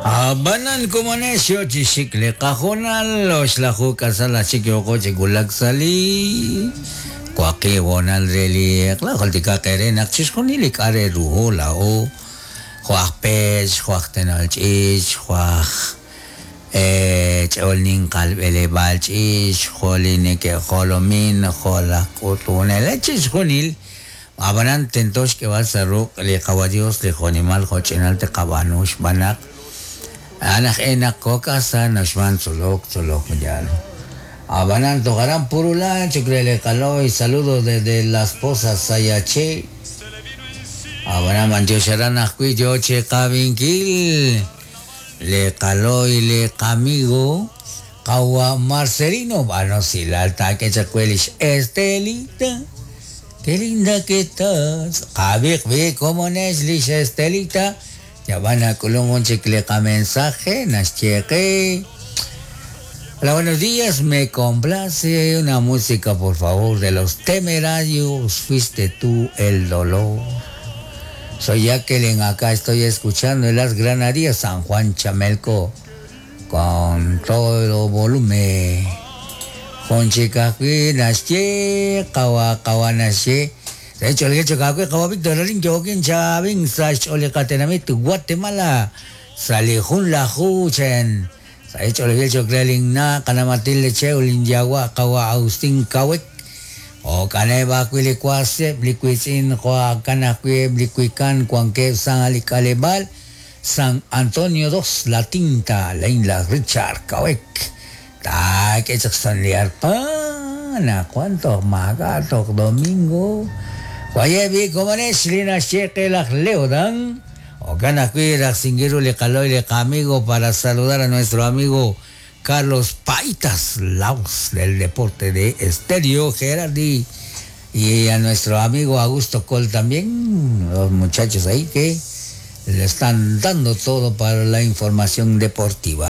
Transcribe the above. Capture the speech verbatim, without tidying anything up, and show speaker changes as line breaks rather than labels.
Abanan komonesyo chisikle kahonal oxlaju kasala chikyoko chigulak sali kwaki wonal reli klajoltika kere nak chixjunil kare ruho lao juaj pech juaj tenal ch'ich juaj eh ch'olnin qalb'eleb'al ch'ich jolineke jolomin jolaj k'utunel chixjunil abanan tentox k'eb'al sa ruq' li qawa Dios li jonimal joch'inal te qab'anu xb'anaq anaj enak kokasa naxman tzolok tzolok yal abanan tojarán purula chukrele kaloy saludo desde Las Pozas Sayache abanan manchosharan ajwi yo che kabinkil le kaloy le kamigo kawa Marcelino bueno si la alta que chacuelish Estelita qué linda que estás kabik bi como nes Estelita ya van a colón chicle mensaje nascheque. Hola, buenos días, me complace una música, por favor, de los Temerarios, fuiste tú el dolor. Soy Jacqueline, acá estoy escuchando en las Granadillas, San Juan Chamelco, con todo volumen. Con chica, nasche, kawa, kawa, nasche. De hecho, el hecho que kawa Víctor Alin, Joaquín Chavin, Sash, Olecatenamit, Guatemala, Salijun la Juchen. Hecho el hecho que na kanamatil cheulin yawa kawa Agustín Kawek o kaneba kwilikwase blikwitsin kwa kanakwe blikwikan kuanke San Alicalebal San Antonio dos La Tinta Leila Richard Kawek ta que San Liarpana cuánto magato domingo Guayebi como es lina cheque la leodan o le caloy le amigo para saludar a nuestro amigo Carlos Paitas Laos del deporte de Estéreo Gerardi y a nuestro amigo Augusto Col también, los muchachos ahí que le están dando todo para la información deportiva.